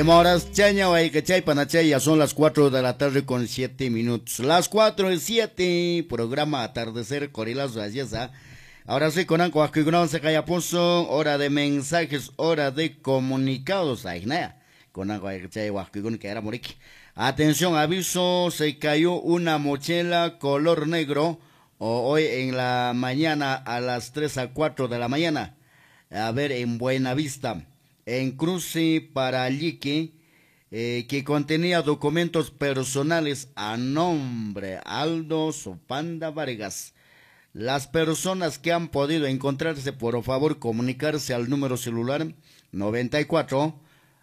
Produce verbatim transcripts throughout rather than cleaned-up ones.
Horas chaña chay ya son las cuatro de la tarde con siete minutos. Las cuatro y siete, programa Atardecer Corilazo, así es, ¿ah? Ahora sí, con Anco, se puso hora de mensajes, hora de comunicados. Ahí, con Anco, que era moriki. Atención, aviso, se cayó una mochila color negro hoy en la mañana a las tres a cuatro de la mañana. A ver, en Buenavista, en cruce para Lliqui, eh, que contenía documentos personales a nombre Aldo Sopanda Vargas. Las personas que han podido encontrarse, por favor, comunicarse al número celular noventa y cuatro,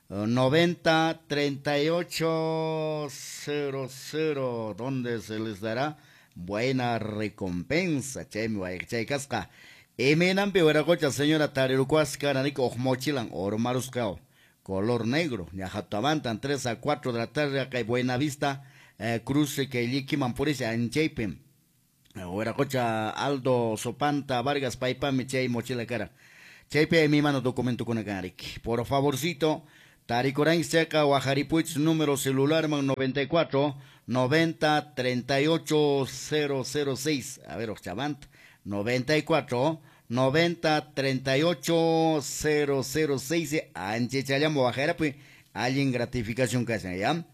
noventa, treinta y ocho, cero cero, donde se les dará buena recompensa. Che, mi che, casca. Emenampi wiracocha señora Tarirucuasca, narico ojmochilan, ormaruscao, color negro, ñajatamantan, tres a cuatro de la tarde, acá en Buenavista, eh, cruce que lliquiman por ese ancheipe. Wiracocha Aldo Sopanta Vargas Paipami, chay mochila cara. Chaype mi mano documento con acá, por favorcito, Taricorán seca Guajaripuich, número celular man noventa y cuatro, noventa, treinta y ocho, cero cero seis. A ver, Ochavant, noventa y cuatro, noventa, treinta y ocho, cero cero seis. Anche chayamo bajera, pues, alguien gratificación que hacen, ¿ya?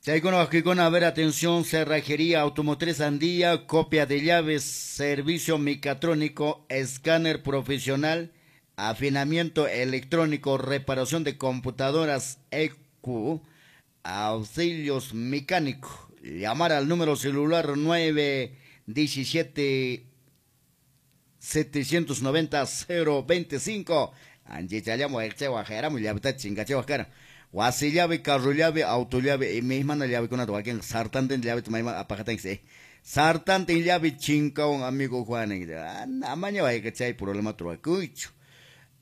Chaycono, a ver, atención, cerrajería, automotriz Andía, copia de llaves, servicio mecatrónico, escáner profesional, afinamiento electrónico, reparación de computadoras E Q, auxilios mecánicos. Llamar al número celular nueve diecisiete setecientos noventa cero veinticinco. Angie chayamo, el chewa, jeramo, llave, chinga, chewa, cara. Wasi llave, carro llave, auto llave, y misma na llave con una toalla, sartante llave, tu mamá apagata, sí. Sartante llave, chinga, un amigo Juan, amaña vaya que chay problema truacucho.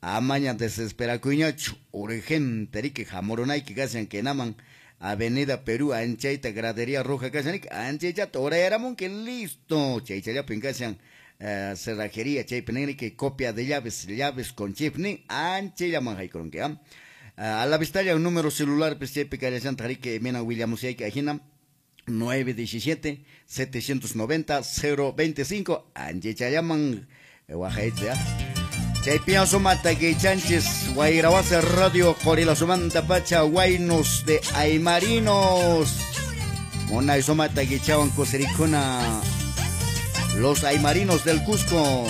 Amaña desespera cuñacho, urgente, rique jamoronay que casi que naman, Avenida Perú, anchaita, gradería roja, casi, anchaita, torera, que listo, chay, chay, ya pincasian. Uh, cerrajería, chay, penegri, que copia de llaves, llaves con chip, ni anche llaman con que, ¿ah? Uh, a la vista ya un número celular, pues, chay, picaria, Santa Rique, Mena, William, Usay, que ajena, nueve diecisiete, setecientos noventa, cero veinticinco, anche llaman, guajaitza, chay, pienso mata, que chanches, Guairahuasa Radio, Corila, Sumanta, Pacha, Guaynos de Aymarinos, Mona, Sumata, que chaban, Cosericona, los Aymarinos del Cusco.